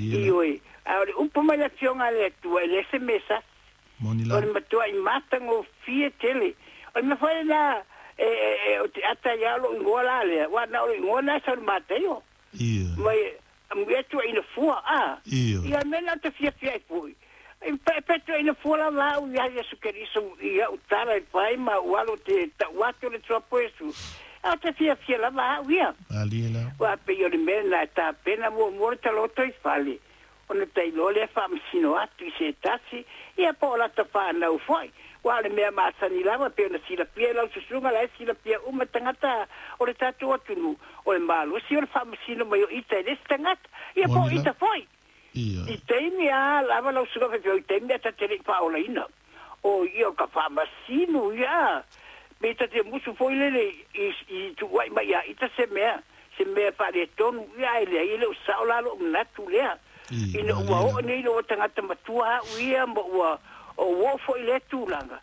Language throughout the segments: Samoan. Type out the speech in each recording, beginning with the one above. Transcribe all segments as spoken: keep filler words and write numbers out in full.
Ioe, a o le upu mai le Afioga a le Atua, e le se mea sasi. Moni O lava. le matua'i matagofie tele. O le mea foi lena e e o te ata ia lou igoa la lea, uā na o lou igoa lena e sau i le Mataio. Ioe. Mai e tuuaina fua a. Ioe. Ia mea na ou te fiafia ai foi. E pe tuuaina fua lava au ia Iesu Keriso i au tala e fai ma ou alo te tau atu le Tuapo Iesu. A ou te fiafia lava au ia. Malie lava. Ua pei o le mea lena e tapena muamua le taloto i fale, ona tailoa lea faamasino atu i se tasi, ia po o lata fanau foi. Ua o le mea masani lava pei ona silafia e lau susuga la e silafia uma tagata o le tatou atunuu, o le malosi o le faamasino mai o ita e le isi tagata, ia po o Moni ita lava. foi. Ioe. I taimi a lava lau susuga faifeau, i taimi a ta te le i faaolaina, o ia o ka faamasino ia. Pe ta te musu foi lele i i tuuai mai ia ita se mea, se mea faaletonu, ia ae leai e le o sao la lou manatu lea. I, Ina ua malie oo lava. nei lou tagata matua au ia ma ua o uo foi lea tulaga.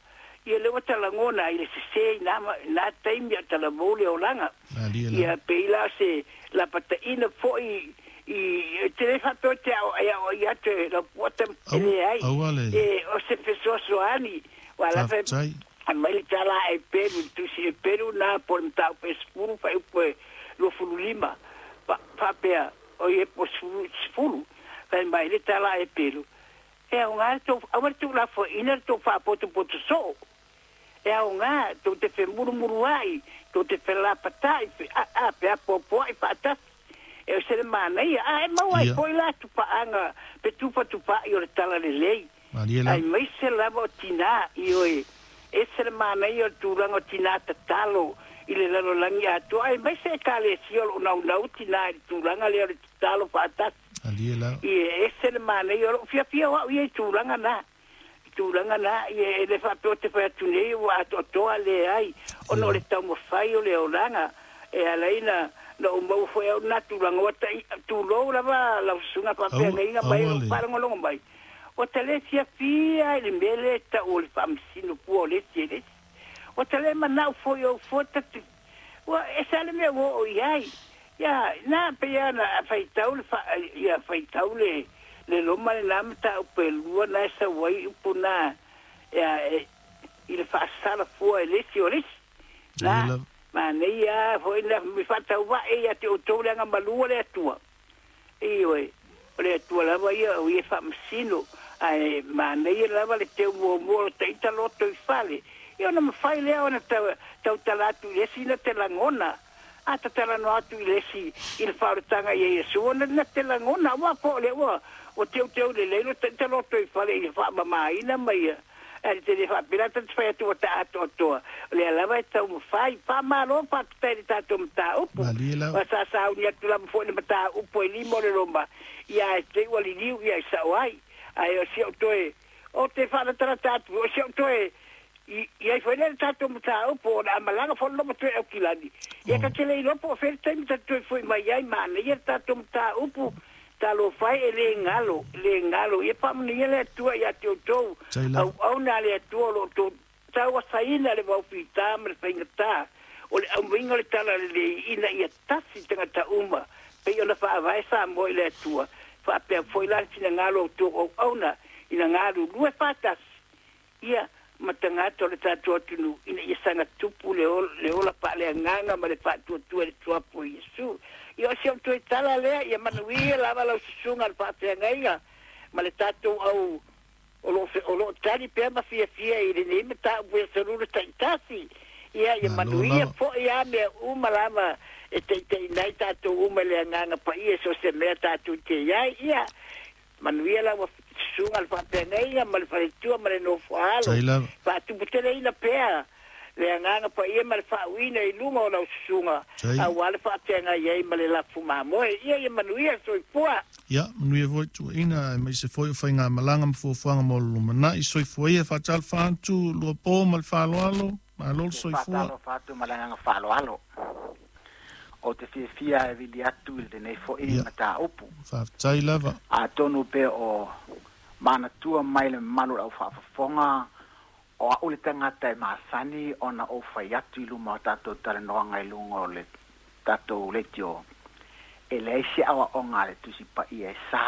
Ia lea ua talagona ai le sesē i na na taimi a talavou le olaga. Malie lava. Ia pei la se lapataina foi i te le faapea te ao e ao ia te lau puata Aua, leai. aua le. E o se fesoasoani. Ua la fe Faafetai. mai le tala e Peru, tusi e Peru na po le mataupu e sefulu faaiupu e luafulu lima. Faapea, o ie po sefulu, sefulu. Fai mai le tala e Peru. E aoga le tou, aua le tuulafoaiina le tou faapotopoto soo. E aoga tou te femurumuruai, tou te felapata'i, a, a, peapoapoa'i faatasi. E o se le manaia, a e maua ai Ia. foi la tupaaga pe tupatupa'i o le tala lelei. Malie lava. Ai maise lava o tinā, ioe, ese le manaia o le tulaga o tinā tatalo i le lalolagi atoa, ai maise ekalesia o loo naunau tinā i le tulaga lea o le tatalo faatasi. Malie lava. Ie ese le manaia o loo fiafia o au ia i tulaga na. I tulaga na, ie e le faapea o te fai atu nei ua atoatoa leai, ona o le taumafai o le olaga e ala ai na na ou maua foi au na tulaga ua tai tulou lava lau susuga Aua, faafeagaiga mai aua lou le. faalogologo mai. Ua ta le fiafia i le mea lea e tau o le faamasino pua o le isi e le isi. Ua ta le manao foi ou fua tatu. Ua ese lava le mea ua oo i ai. Ia, na pei lava ona faitau le fa, ia faitau le le Roma lena mataupu e lua na e sau ai upu na ia e i le faasala fua e le isi o le isi. Malie Na, lava. manaia foi na mi faatauvae ia te outou le agamalu o le Atua. Ioe, o le Atua lava ia o ia e faamasino, ae manaia lava le teu muamua o lo taita loto i fale. Ia ona mafai lea ona tau tautala atu i le isi na te lagona. A tatalanoa atu i le isi i le faaolataga ia Iesu, ona na te lagona, aua po o lea ua ua teuteu lelei lo taita loto i fale i le faamamaina ma ia. Ae te le faapea ta te fai atu ua ta atoatoa. O lea lava e taumafai. Faamalo faafetai i le tatou mataupu. Malie lava. Ua sa sauni atu lava foi le mataupu e lima o le Roma. Ia e te ua liliu ia i sao ai. Ae o si au toe, o te faalatalata atu, o si au toe, i i ai foi lea le tatou mataupu o le a malaga foi le loma toe Aukilani. Ia Oh. ta te le iloa po o fea le taimi ta toe foi mai ai manaia le tatou mataupu. Talofa e, e le galo, e le galo. Ia faamanuia le Atua ia te outou. Tai lava. Auauna a le Atua o lo o outou tauasaina le vaofitā ma le faigatā o le aumaiga o le talalelei ina ia tasi tagata uma pei ona faavae Samoa i le Atua. Faapea foi la le finagalo o outou auauna ina galulue faatasi ia ma tagata o le tatou atunuu ina ia saga tupu le ola, le ola faaleagaga ma le faatuatua i le Tuapo o Iesu. Ia o si au toe tala lea, ia manuia lava lau susuga le faafeagaiga ma le tatou au o loo o loo tali pea ma fiafia i lenei mataupu e aso Lua taitasi. Ia ia Malo manuia lava. foi a mea uma lava e taitaiina ai tatou uma i le agaga paia so se mea tatou te iai. Ia manuia lau susuga le faafeagaiga ma le faletua ma le nofoaalo. Tai lava. Faatuputeleina pea le agaga paia ma le faauiina i luga o lau susuga Tai. auā le faafeagai ai ma le lafu mamoe. Ia ia manuia soifua. Ia, manuia foi tuuaina, aemaise foi o faigamalaga ma fuafuaga mo le lumanai. Soifua ia, faatalofa atu Luapo ma le faaaloalo. Malo le soifua. Faatalofa atu ma le agaga faaaloalo. O te fiafia e vili atu i lenei foi Ia. mataupu. Faafetai lava. Atonu pe o manatua mai le mamalu o le aufaafofoga o au le tagata e masani ona ou fai atu i luma o tatou talanoaga i luga o le tatou leitio. E leai se aoaoga a le Tusi Paia e sa